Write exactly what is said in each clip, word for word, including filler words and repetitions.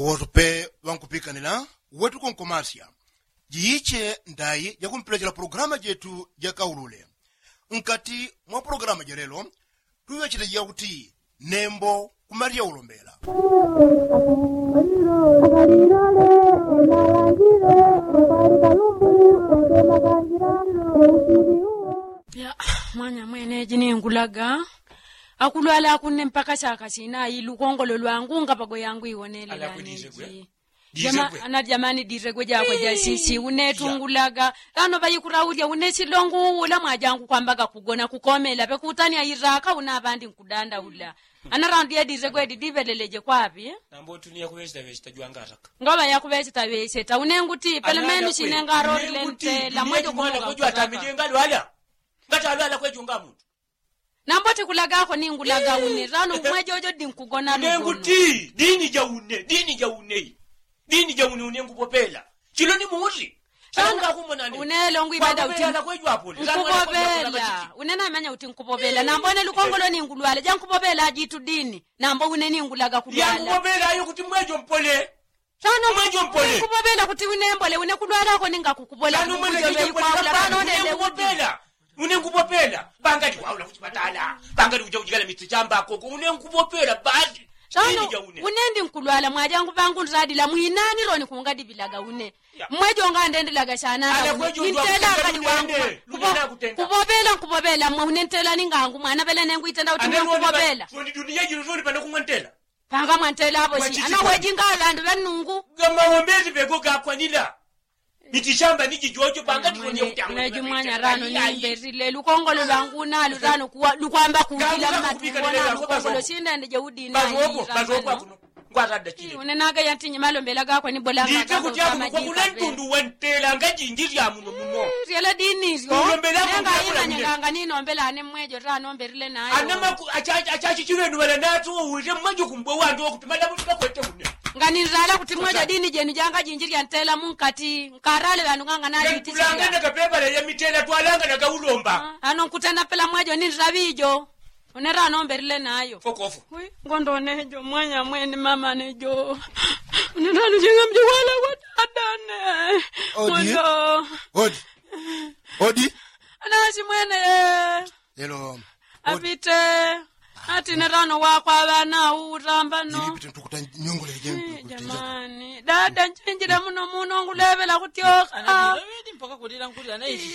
Wosope ŵankupikanila wetu konkomasya jiiche ndai jakumpelechela pulogalamu jetu jakaulule. Nkati mwa pulogalamu jelelo tuŵechete jakuti nembo kumalyaulo mbela. Mwanya mweneji ningulaga akulwala akunne mpaka chaka chinayi lukongolo lwangu ngapago yangu iwonelela ninji. Ana jamani diregwe jakwe jasisi une tungulaga. Ano ŵaikuraulya une silongu ula mwajangu kwambaga kugona kukomela ŵekutania iraka una ŵandi nkudanda ula. Ana randu yediregwe didiŵeleleje kwaŵi. Nambo tuniya kuŵecheta ŵecheta jwangaraka. Ngaŵa yakuŵecheta ŵecheta une nguti pelemenu sine ngarorile ntela mwejo kumwana kujwatamije ngalwala. Ngatalwala kwejo ngamuntu. Nambo tikulagako ningulaga une rano mwejojo dinkugona. Nenguti dini ja une dini ja une dini ja une une ngupopela. Chilo ni muti. Rano unelo ngwibada uti nkupopela une namanya uti nkupopela nambo une lukongolo ningulwala jankupopela ajitu dini. Nambo une ningulaga kulwala yankupopela ayo kuti mwejo mpole. Sano mwejo mpole nkupopela kuti une mbole une kulwalako ninga kukupola une nkupopela. Pangali kwaula kuchipatala pangali kuja kujikala miti chamba koko une nkupopela badi. Sano une ndi nkulwala mwajangu pangu nradila mwinani roni kungadipilaga une. Mwejo ngandendelaga sana nintela ngali wangu. Kupopela nkupopela mwe une ntela ningangu mwana pele nengu itenda kuti mwe nkupopela. Pangamwantela apo si ana wejinga aŵandu ŵanungu. Gamawombezi ŵego gakwanila. Miti shamba ni jijojo pangatilonye kuti aweji mwanya rano nimberile lukongolo lwangu nalu rano lukwamba kujila mmatumbona lukongolo sindende jeudina. Ngwatadachile. Une naga yantinyi malombela gakwe nibolanga gakwe kama jinga ŵe. Lyela dini lyo nenga imanyenganga ninombela ane mwejo rano mberile nayo. Achachichilwenu ŵalanatu uwite mwajo kumbwe wandu wakuti madamu tipakwete une. Nganinzala kuti mwejo dini jenu janga jinji lyantela munkati nkarale ŵandu nganga nalitichilya. Ano nkutena pela mwejo ninzila ŵijo. Une rano mberile nayo. Ngondo nejo mwanya mwene mama nejo. Une rano jinga mji wala watadane. Odi. Odi. Odi. Anasi mwene ye. Lelo apite. Ati ne rano wakwa ŵana uutamba no. Jamani dada nchinjile muno muno ngulevela kutyoka.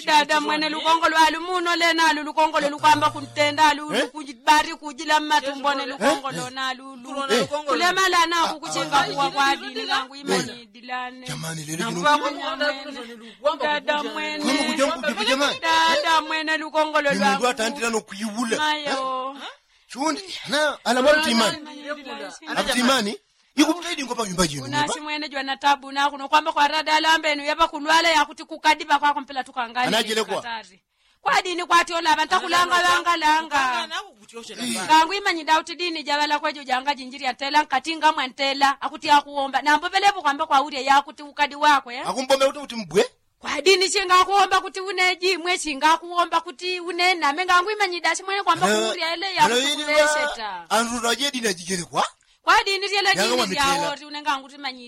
Dada mwene lukongo lwalu muno lenalu lukongo lolukwamba kuntenda alu lukujibari kujila mmatumbo ne lukongo lona alulu. Kulemala naku kuchinga kuwa kwadini kangu imanyidilane. Dada mwene dada mwene lukongo lolwaku. Chundi na alamwali timani. Atimani. Ikupita idingo panyumba jinu unasi mwene jwanatabu nakuno kwamba kwarada alambenu yapakulwala yakuti kukadipa kwako mpela tukangali anajilekwa. Kwadini kwatyola ŵantakulanga ŵangalanga. Kangu imanyida kuti dini jaŵala kwejo janga jinjili antela nkati ngamwantela akuti akuwomba nambo ŵelepo kwamba kwaulya yakuti ukadi wakwe. Akumbombela kuti kuti mbwe. Kwadini chingakuwomba kuti une jimwe chingakuwomba kuti une name ngangu imanyida simwene kwamba kuulya ele yakuti kuŵecheta. Antu tajedini ajijelekwa. Kwadini tyele dini lyaoti une ngangu timanyida.